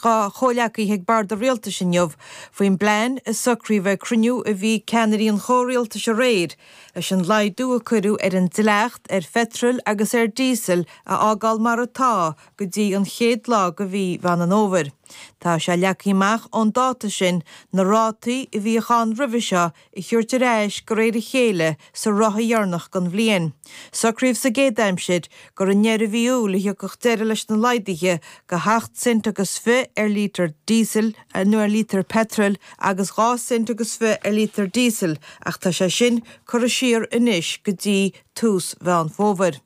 dá chomhghleacaithe ag bord an rialtais inniu faoin bplean a socraíodh ag cruinniú a bhí ag ceannairí an chomhrialtais aréir leis an laghdú a cuireadh ar an dleacht ar pheitreal agus ar dhíosal a fhágáil mar atá go dtí an chéad lá de mhí Mheán an Fhómhair. Tá sé leagtha amach ón dáta sin na rátaí a bhíodh ann roimhe seo a thabhairt ar ais de réir a chéile sa ráithe dheireanach den bhliain. Socraíodh sa gcéad aimsir gur i ndeireadh mhí Iúil a thiocfadh deireadh leis na laghduithe go hocht cent agus fiche ar lítear díosail nó ar lítear peitril agus 2 cent agus fiche ar lítear díosail ach tá sé sin curtha siar anois go dtí tús Mheán Fómhair.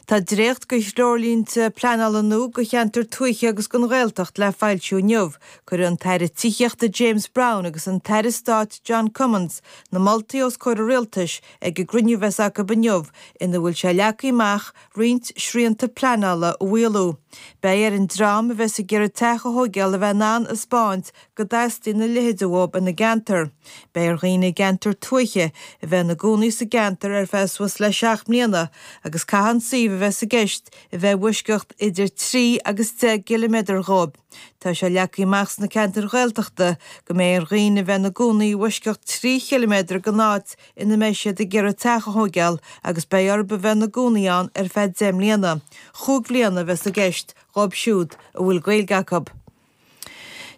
Tá dréacht de threoirlínte pleanála nua do cheantair tuaithe agus don Ghaeltacht le foilsiú inniu. Cuirfidh an tAire Tithíochta James Browne agus an tAire Stáit John Cummins na moltaí os comhair an Rialtais ag an gcruinniú a bheas acu inniu ina bhfuil sé leagtha amach roinnt srianta pleanála a mhaolú. Beidh ar an dream a bheas ag iarraidh teach a thóigeáil a bheith in ann a 'spáint go dteastaíonn a leithéid uathu ina gceantar. Beidh ar dhaoine i gceantar tuaithe a bheith ina gcónaí sa gceantar ar feadh suas le 7 mbliana agus caithfidh an suíomh a bheas i gceist a bheith i bhfoisceacht idir 3 agus 10 gciliméadar dhóibh. Tá sé leagtha amach sna ceantair Ghaeltachta go mbeidh ar dhaoine a bheith ina gcónaí i bhfoisceacht 3 chiliméadar den áit ina mbeidh siad ag iarraidh teach a thóigeáil agus beidh orthu a bheith ina gcónaí ann ar feadh 10 mbliana. Chúig bhliana a bheas i gceist dhóibh siúd a bhfuil Gaeilge acu.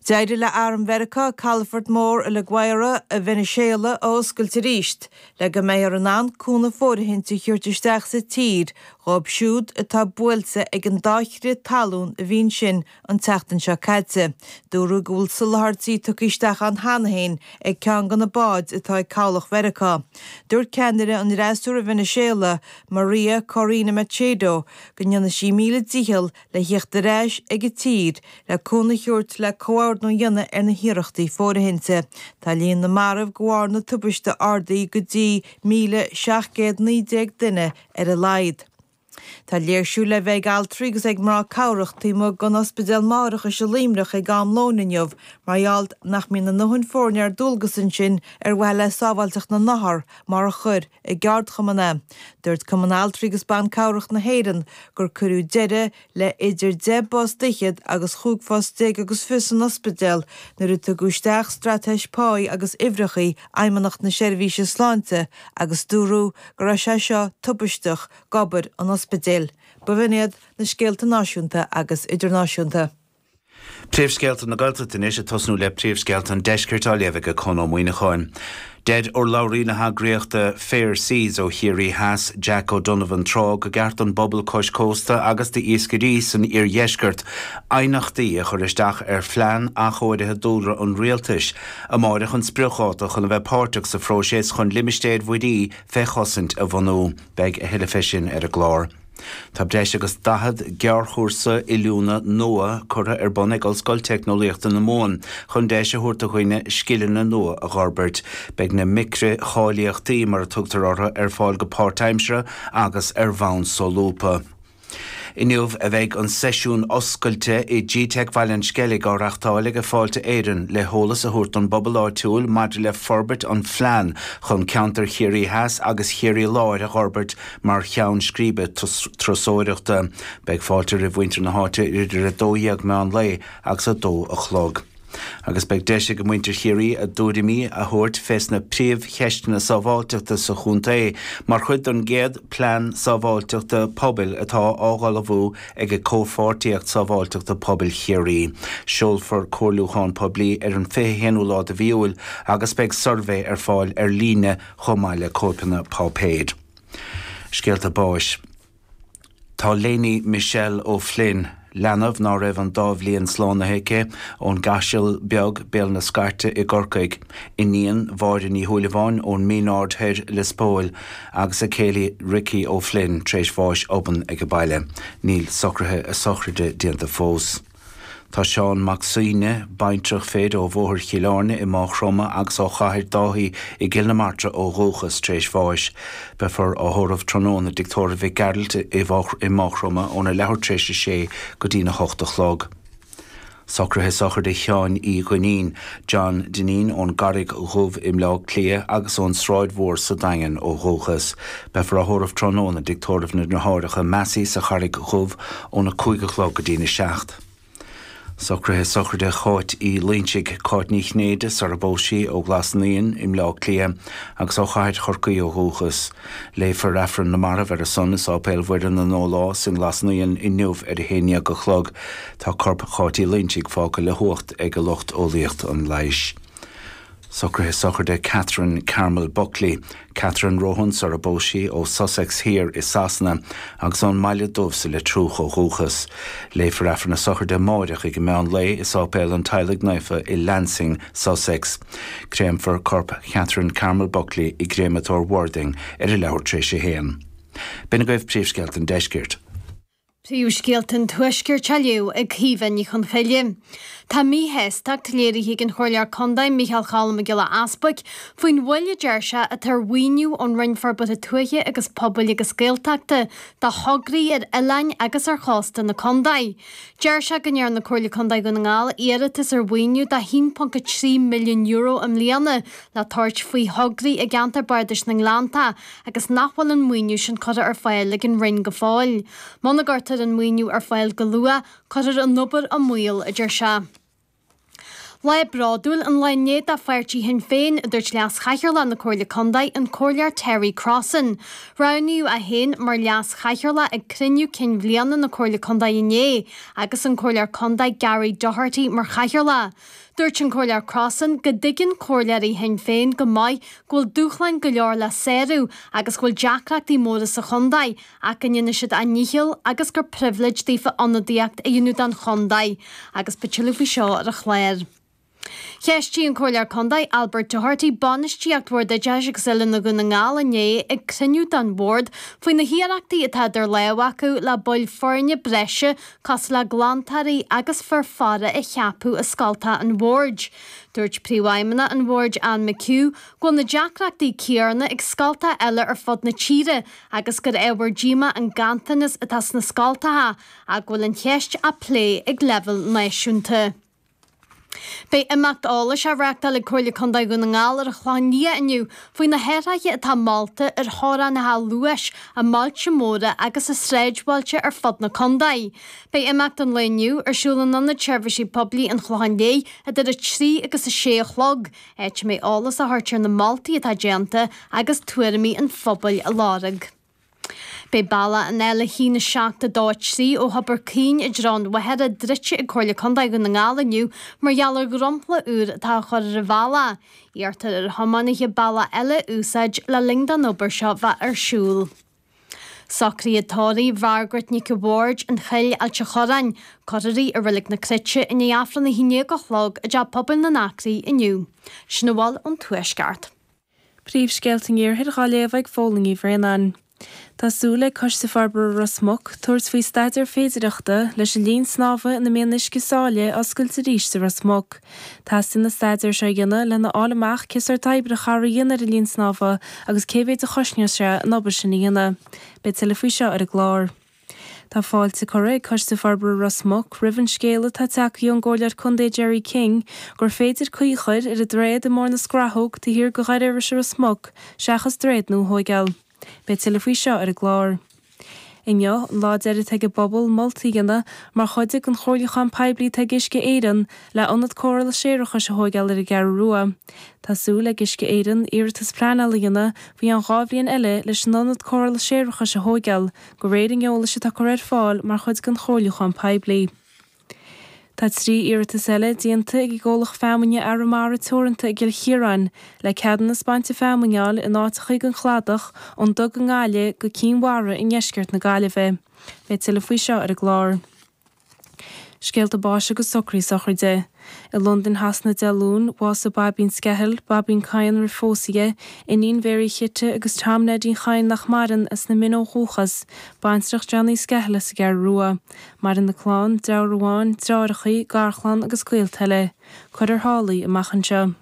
D'éirigh le Arm Mheiriceá calafort mór i La Guaira i Veiniséala a oscailt arís le go mbeifear in ann cúnamh fóirithinte a thabhairt isteach sa tír dhóibh siúd atá buailte ag an dá chrith talún a bhí ansin an tseachtain seo caite. Dúradh go bhfuil soláthairtí tugtha isteach ann cheana féin ag ceann de na báid atá ag cabhlach Mheiriceá. Dúirt ceannaire an fhreasúra i Veiniséala, Maria Corina Machado, go ndéanfaidh sí a míle dícheall le thíocht ar ais ag an tír le cúnamh a thabhairt le comhordnú a dhéanamh ar na hiarrachtaí fóirithinte. Tá líon na marbh de bharr na tubaiste ardaithe go dtí 1,719 duine ar a laghad. Tá léirsiú le bheith ag altraí agus ag mná cabhrach taobh amuigh den Ospidéal Máithreachais i Luimneach ag am lóin inniu mar gheall nach mbíonn a ndóthain foirne ar dualgas ansin ar mhaithe le sábháilteacht na n-othar mar a chuir a gceardchumann é. Dúirt Cumann Altraí agus Ban Cabhrach na hÉireann gur cuireadh deireadh le idir deich bpost fhichead agus chúig phost déag agus fiche san ospidéal nuair a tugadh isteach straitéis páí agus uimhreachaí Fheidhmeannacht na Seirbhíse Sláinte agus dúradh go raibh sé seo tubaisteach d'obair an ospidéil. B'in iad na scéalta náisiúnta agus idirnáisiúnta. Príomhscéalta na Gaeltachta anois, ag tosnú le príomhscéalta an deiscirt á léamh ag Conn Ó Muíneacháin. Deir urlabhraí na heagraíochta Fair Seas ó Chiarraí Theas, Jack O'Donovan Trá, go gceart don bpobal cois cósta agus d'iascairí san iardheisceart aighneachtaí a chur isteach ar phlean athchóirithe dúlra an Rialtais. Amáireach an spriocdháta chun a bheith páirteach sa phróiseas chun limistéir mhuirí fé chosaint a bhunú. Beidh a thuilleadh fé sin ar an gclár. Tá breis agus 40 gearrchúrsa oiliúna nua curtha ar bun ag Ollscoil Teicneolaíochta na Mumhan chun deis a thabhairt do dhaoine scileanna nua a dh'fhorbairt. Beidh na micri-cháilíochtaí, mar a tugtar orthu, ar fáil go páirtaimseartha agus ar bhonn solúbtha. Inniu a bheidh an seisiún oscailte i gteic Bhaile an Sceilg á reachtáil ag Fáilte Éireann le heolas a thabhairt don bpobal áitiúil maidir le forbairt an phlean chun ceantar Chiarraí Theas agus Chiarraí Láir a dh'fhorbairt mar cheann scríbe turasóireachta. Beidh fáilte roimh mhuintir na háite idir 12 meán lae agus 2 a chlog. Agus beidh deis ag muintir Chiarraí a dtuairimí a thabhairt fés na príomhcheisteanna sábháilteachta sa chontae mar chuid don gcéad Plean Sábháilteachta Pobail atá á dh'ullmhú ag Comhpháirtíocht Sábháilteachta Pobail Chiarraí. Seolfar comhairliúchán poiblí ar an 21ú lá de mhí Iúil agus beidh suirbhé ar fáil ar líne chomh maith le cóipeanna páipéir. Scéalta báis. Tá Léiní Michelle O'Flynn, leanbh ná raibh an dá bhliain slánaithe aici, ón gCaiseal Beag, Béal na Scairte i gCorcaigh, iníon Mháire Ní Shúilleabháin ón Mín Aird Thoir, Lios Póil, agus a céile Ricky O'Flynn tar éis bháis obann ag an baile. Níl socruithe a sochraide déanta fós. Tá Seán Mac Suibhne, baintreach fir ó Bhóthar Chill Airne i Máigh Chromtha agus ó Chathair Dáithí i gCill na Martra ó dhúchas, tar éis bháis. Beifear á thórramh tráthnóna i dTigh Tórraimh Mhic Gearailt i Máigh Chromtha óna leathuair tar éis a sé go dtína hocht a chlog. Socruithe sochraide Sheáin Uí Dhuinnín, John Dineen ón gCarraig Dhubh i mBleá Cliath agus ón Sráid Mhór sa Daingean ó dhúchas. Beifear á thórramh tráthnóna i dTigh Tórraimh na nDeartháireacha Massey sa Charraig Dhubh óna 5 a chlog go dtína 7. Socruithe sochraide Cháit Uí Loinsigh, Cáit Ní Chinnéide sara bpós sí, ó Ghlas Naíon i mBleá Cliath agus ó Chathair Chorcaí ó dhúchas. Léifear Aifreann na Marbh ar a son i Sáipéal Mhuire na nDólás i nGlas Naíon inniu ar a haon dhéag a chlog. Tá corp Cháit Uí Loinsigh fágtha le huacht ag lucht eolaíocht an leighis. Socruithe sochraide Catherine Carmel Buckley, Catherine Rohan sara bpós sí, ó Sussex Thiar i Sasana agus ón mBaile Dubh sa Leitriúch ó dhúchas. Léifear Aifreann na sochraide amáireach ag an meán lae i Sáipéal an Teaghlaigh Naofa i Lancing, Sussex. Créamfar corp Chatherine Carmel Buckley i gCréamatóir Worthing ar a leathuair tar éis a haon. B'in agaibh príomhscéalta an deiscirt. Príomhscéalta an Tuaiscirt á léamh ag Caoimhe Ní Chonchoille. Tá míshástacht léirithe ag an Chomhairleoir Contae Micheál Cholm Mac Giolla Easbuic faoin mhoill a deir sé atá ar mhaoiniú ón Roinn Forbartha Tuaithe agus Pobail agus Gaeltachta do thograí ar oileáin agus ar chósta na contae. Deir sé go ndearna Comhairle Contae Dhún na nGall iarratas ar mhaoiniú de €1.3 milliún i mbliana le tabhairt faoi thograí i gceantar Bardais na nGleanntach agus nach bhfuil an maoiniú sin curtha ar fáil ag an Roinn go fóill. Muna gcuirtear an maoiniú ar fáil go luath, cuirfear an obair i mbaol, a deir sé. Lá bródúil an lá inné do pháirtí Shinn Féin, a dúirt Leas-Chathaoirleach na Comhairle Contae, an Comhairleoir Terry Crossan. Roghnaíodh é féin mar Leas-Chathaoirleach ag cruinniú cinn bhliana na Comhairle Contae inné agus an Comhairleoir Contae Gary Doherty mar Chathaoirleach. Dúirt an Comhairleoir Crossan go dtuigeann comhairleoirí Shinn Féin go maith go bhfuil dúshláin go leor le sárú agus go bhfuil deacrachtaí móra sa chontae ach go ndéanfaidh siad a ndícheall agus gur pribhléid daofa ionadaíocht a dhéanamh don chontae agus beidh tuilleadh faoi seo ar an chlár. Cheistigh an Comhairleoir Contae Albert Doherty bainistíocht Bhord Oideachais agus Oiliúna Dhún na nGall inné ag cruinniú den Bhord faoi na hiarrachtaí atá idir lámha acu le baill foirne breise cosúil le glantóirí agus fir faire a cheapadh i scoltacha an Bhoird. Dúirt Príomhfheidhmeannach an Bhoird Anne McHugh go bhfuil na deacrachtaí céanna ag scoltacha eile ar fud na tíre agus gur ábhar díomá an ganntanas atá sna scoltacha ach go bhfuil an cheist á plé ag leibhéal náisiúnta. Beidh imeacht eolais á reáchtáil ag Comhairle Contae Dhún na nGall ar an Chlochán Liath inniu faoi na hathruithe atá molta ar theorainneacha luais i mbailte móra agus i sráidbhailte ar fud na contae. Beidh imeacht an lae inniu ar siúl in Ionad Seirbhísí Poiblí an Chlocháin Léith idir 3 agus 6 a chlog, áit a mbeidh eolas á thabhairt ar na moltaí atá déanta agus tuairimí an phobail á lorg. Beidh bealach an L1 7 2 3 ó Thobar Caoin i dtreo an Mhachaire druidte ag Comhairle Contae Dhún na nGall inniu mar gheall ar dhromchla úr atá á chur ar an bhealach. Iarrtar ar thiománaithe bealach eile a úsáid le linn don obair seo bheith ar siúl. Socruithe tórraimh Mhargaret Nic a' Bhaird, An Chill, Ailt a' Chorráin, Cuirfear í i Reilig na Cruite i ndiaidh Aifreann 11 a chlog i dTeach Pobail na nAcraí inniu. Sin a bhfuil ón Tuaisceart. Príomhscéalta an Iarthair dhá léamh ag Fódhla Ní Bhraonáin. Tá súil ag Coiste Forbartha Ros Muc tabhairt faoi staidéar féidireachta leis an linn snámha ina mbíonn uisce sáile a oscailt arís i Ros Muc. Teastaíonn an staidéar seo a dhéanamh lena fháil amach cé sórt oibre a chaithfear a dhéanamh ar an linn snámha agus cé mhéid a chosnódh sé an obair sin a dhéanamh. Beidh tuilleadh faoi seo ar an gclár. Tá fáilte curtha ag Coiste Forbartha Ros Muc roimh an scéala atá tagtha ón gComhairleoir Contae Gerry King gur féidir caoi a chur ar an droichead i mBóthar na Scrathóg taobh thiar de Dhoire Iorrais i Ros Muc seachas droichead nua a thóigeáil. Beidh tuilleadh faoi seo ar an gclár. Inniu an lá deiridh atá ag an bpobal moltaí a dhéanamh mar chuid den chomhairliúchán poiblí atá ag Uisce Éireann le ionad cóireála séarachais a thóigeáil ar an gCeathrú Rua. Tá súil ag Uisce Éireann iarratas pleanála a dhéanamh faoi cheann 2 bhliain eile leis an ionad cóireála séarachais a thóigeáil De réir an eolais atá curtha ar fáil mar chuid den chomhairliúchán poiblí. Tá 3 iarratas eile déanta ag an gcomhlacht feamainne Arramara Teoranta i gCill Chiaráin le ceadúnas bainte feamainne a fháil in áiteachaí den chladach ón Dug i nGaillimh go Cinn Mhara i ndeisceart na Gaillimhe. Beidh tuilleadh faoi seo ar an gclár. Scéalta báis agus socruithe sochraide. I Londain Shasana Dé Luain, bhásaigh Baibín Skehill, Baibín Kyne roimh phósadh di, iníon Mhéaraí Chite agus Tom Neidín Chadhain nach maireann, as na Mine ó dhúchas, baintreach Johnny Skehill as an gCeathrú Rua. Maireann a clann, deartháir amháin, deartháireachaí, garchlann agus gaolta eile. Cuirfear thall í amach anseo.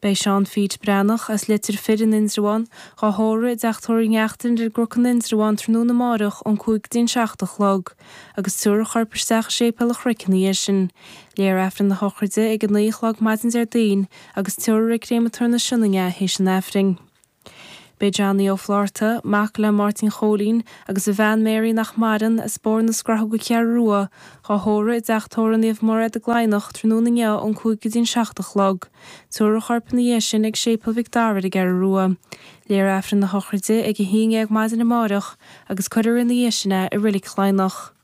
Beidh Seán Phete Breathnach, as Leitir Fir in Indreabhán, dhá thórramh i dTeach Tórraimh Uí Neachtain ar an gCnoc in Indreabhán tráthnóna amáireach ón 5 go dtí an 7 a chlog, agus tabharfar a chorp isteach i Séipéal an Chnoic ina dhiaidh sin. Léifear Aifreann na sochraide ag 9 a chlog maidin Déardaoin agus tabharfar ag Créamatóir na Sionainne é théis an Aifrinn. Beidh Johnny Ó Flátharta, mac le Máirtín Chóilín agus a bhean Mary nach maireann, as Bóthar na Scrathóga Ceathrú Rua, dhá thórramh i dTeach Tórraimh Naomh Mairéad i gCladhnach tráthnóna inniu ón 5 go dtí an 7 a chlog. Tabharfar a chorp ina dhiaidh sin ag Séipéal Mhic Dara ar an gCeathrú Rua. Léifear Aifreann na sochraide ag a haon dhéag maidin amáireach agus cuirfear ina dhiaidh sin é i Reilig Chladhnach.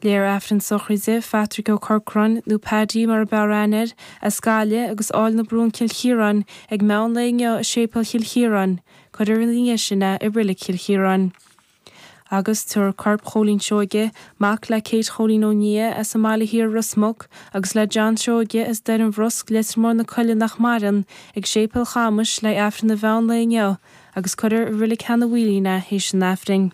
Léifear Aifreann sochraide Phatrick Ó Corcráin, nó Paddy mar a b'fhearr aithne air, as Gaillimh agus Áill na Brún Cill Chiaráin, ag meán lae inniu i Séipéal Chill Chiaráin. Cuirfear ina dhiaidh sin é i Reilig Chill Chiaráin. Agus tabharfar corp Chóilín Seoige, mac le Kate Chóilín Ó Nia as an mBaile Thiar Ros Muc, agus le John Seoige as Doire an Bhrosc, Leitir Móir na Coille nach maireann, ag Séipéal Chamais le Aifreann an mheán lae inniu agus cuirfear i Reilig Sheanadh Mhaoilín é théis an Aifrinn.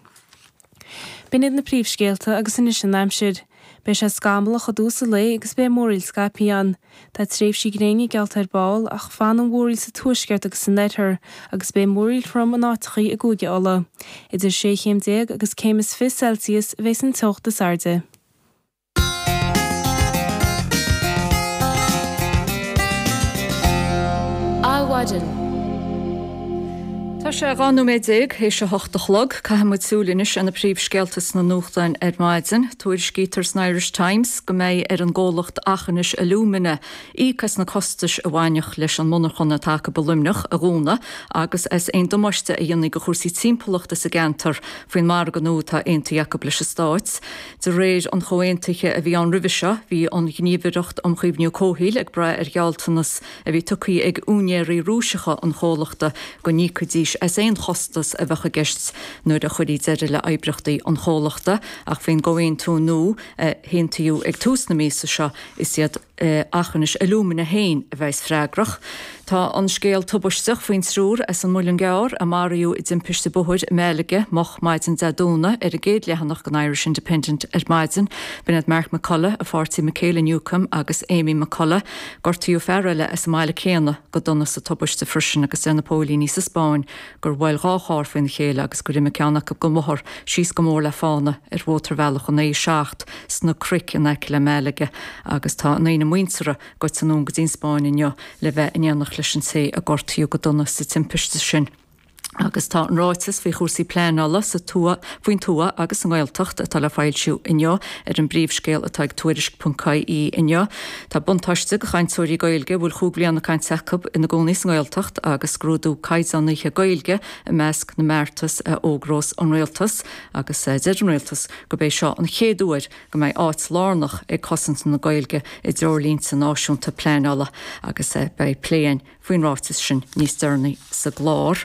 B'in iad na príomhscéalta agus anois an aimsir. Beidh sé scamallach i dtús an lae agus beidh múraíl scaipthe ann. Tá tréimhsí gréine geallta ar ball ach fanfaidh an mhúraíl sa tuaisceart agus san oirthear agus beidh múraíl throm in áiteachaí i gCúige Uladh. Idir sé chéim déag agus céim is 20 Celsius a bheas an teocht is airde. Adhmhaidin. Tá sé 12 nóiméad théis a hocht a chlog. Caithfidh muid súil anois ar na príomhscéalta sna nuachtáin ar maidin. Tuairiscítear san Irish Times go mbeidh ar an gcomhlacht Aughinish Alumina íoc as na costais a bhainfeadh leis an monarchana atá acu i Luimneach a dhúnadh agus as aon damáiste a dhéanfaí do chúrsaí timpeallachta sa gceantar faoin margadh nua atá aontaithe acu leis an Stát. De réir an chomhaontaithe a bhí ann roimhe seo, bhí an Ghníomhaireacht um Chaomhnú Comhshaoil ag brath ar ghealltanas a bhí tugtha ag úinéirí Rúiseacha an chomhlachta go n-íocfaidís as aon chostas a bheadh i gceist nuair a chuirfí deireadh le oibríochtaí an chomhlachta. Ach faoin gcomhaontú nua a haontaíodh ag tús na míosa seo, is iad Aughinish Alumina féin a bheas freagrach. Tá an scéal tubaisteach faoin triúr as an Muileann gCearr a maraíodh i dtimpiste bóthair i Malaga moch maidin Dé Domhnaigh ar an gcéad leathanach den Irish Independent ar maidin. B'in iad Mark McCullough, a pháirtí Michaela Newcombe agus Amy McCullough. Gortaíodh fear eile as an mbaile céanna go dona sa tubaiste freisin agus deir na póilíní sa Spáinn gur bhuail dhá charr faoina chéile agus gur imigh ceann acu den bhóthar síos go mór le fána ar mhótarbhealach an A7 sna cnoic in aice le Malaga agus tá a ndaoine muinteartha goite anonn go dtí an Spáinn inniu le bheith in éineacht leis an té a gortaíodh go dona sa timpiste sin. Agus tá an ráiteas faoi chúrsaí pleanála sa tuath, faoin tuath agus sa nGaeltacht atá le foilsiú inniu ar an bpríomhscéal atá ag Tuairisc.ie inniu. Tá buntáiste do chainteoirí Gaeilge a bhfuil chúig bhliana cainte acu ina gcónaí sa nGaeltacht agus scrúdú caighdeánaithe Gaeilge i measc na mbeartas a fhógrós an Rialtas agus deir an Rialtas gurb é seo an chéad uair go mbeidh áit lárnach ag cosaint na Gaeilge i dtreoirlínte náisiúnta pleanála agus beidh plé againn faoin ráiteas sin níos deireanaí sa gclár.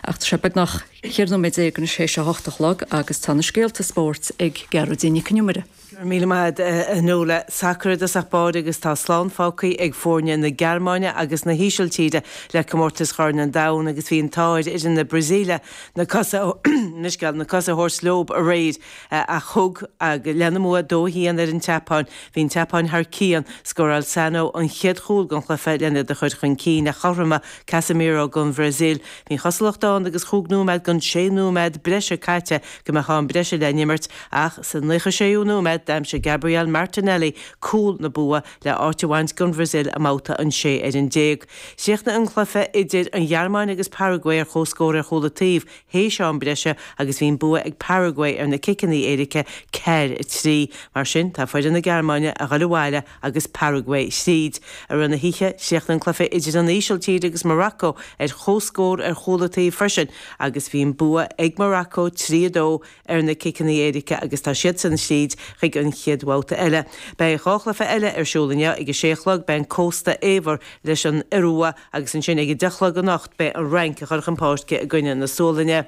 Ach tá sé beagnach 14 nóiméad anois théis a hocht a chlog agus tá na scéalta spóirt ag Gearóidín Nic Con Iomaire. Go raibh míle maith agat a Nuala. Sacar i dtosach báire agus tá slán fágtha ag foirne na Gearmáine agus na hÍsiltíre le comórtas Chorn an Domhain agus bhí an t-ádh ar fhoireann na Brasaíle na cosa na cosa a thabhairt leob aréir ach thug lena mbua 2-1 ar an tSeapáin. Bhí an tSeapáin thar cionn. Scóráil Sano an chéad chúl den chluiche lena iad a chur chun cinn ach chothromaigh Casemiro don Bhrasaíl. Bhí an chosúlacht ann agus chúig nóiméad den sé nóiméad breise caite go mbeadh am breise le n-imirt Ach sa 96ú nóiméad d'aimsigh Gabriel Martinelli cúl na bua le áit a bhaint don Bhrasaíl i mbabhta an 16 ar an. Chríochnaigh an cluiche idir an Ghearmáin agus Paraguay ar comhscór ar chúl an taobh théis am breise agus bhí an bua ag Paraguay ar na ciceanna éirice 4, 3. Mar sin tá foireann na Gearmáine a dhul abhaile agus Paraguay thríd. I rith na hoíche, chríochnaigh an cluiche idir an Ísiltír agus Morocco ar comhscór ar chúl an taobh freisin agus bhí an bua ag Morocco 3, 2 ar na ciceanna éirice agus tá siadsan thríd chuig an chéad bhabhta eile. Beidh dhá chluiche eile ar siúl inniu. Ag a sé a chlog beidh an Cósta Eabhair leis an Iorua agus ansin ag a deich a chlog anocht beidh an Fhrainc ag dul chun páirce i gcoinne na Sualainne.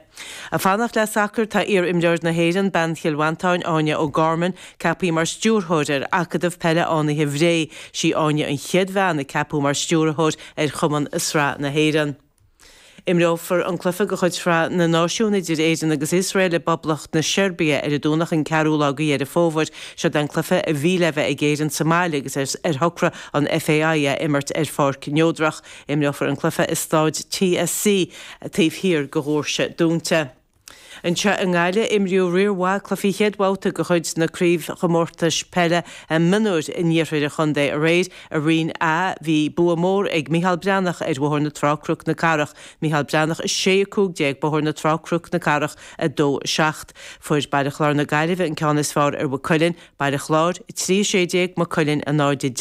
Ag fanacht le sacar tá iar-imreoir na hÉireann, bean Chill Mhantáin, Áine O'Gorman, ceaptha mar stiúrthóir ar Acadamh Peile Fhánaithe Bhré. Sí Áine an chéad bhean a ceapadh mar stiúrthóir ar chumann i Sraith na hÉireann. Imreofar an cluiche de chuid Shraith na Náisiún idir Éirinn agus Iosrael i bPoblacht na Seirbia ar an Domhnach an ceathrú lá de Dheireadh Fómhair. Seod é an cluiche a bhí le bheith ag Éirinn sa mbaile agus ar shocraigh an FAI é a imirt ar pháirc neodrach. Imreofar an cluiche i Staid TSC taobh thiar de dhoirse dúnta. Anseo i nGaillimh, imríodh riar mhaith cluichí chéad bhabhta de chuid na craobhchomórtais peile mionúir in iarthar an chontae aréir. I Roinn A, bhí bua mór ag Micheál Breathnach ar Bhóthar na Trá Cnoc na Cathrach, Micheál Breathnach 6, 15, Bóthar na Trá Cnoc na Cathrach 2, 7. Fuair Baile Chláir na Gaillimhe an ceann is fearr ar Mhaigh Cuilinn, Baile Chláir 3, 16, Maigh Cuilinn 0, 10.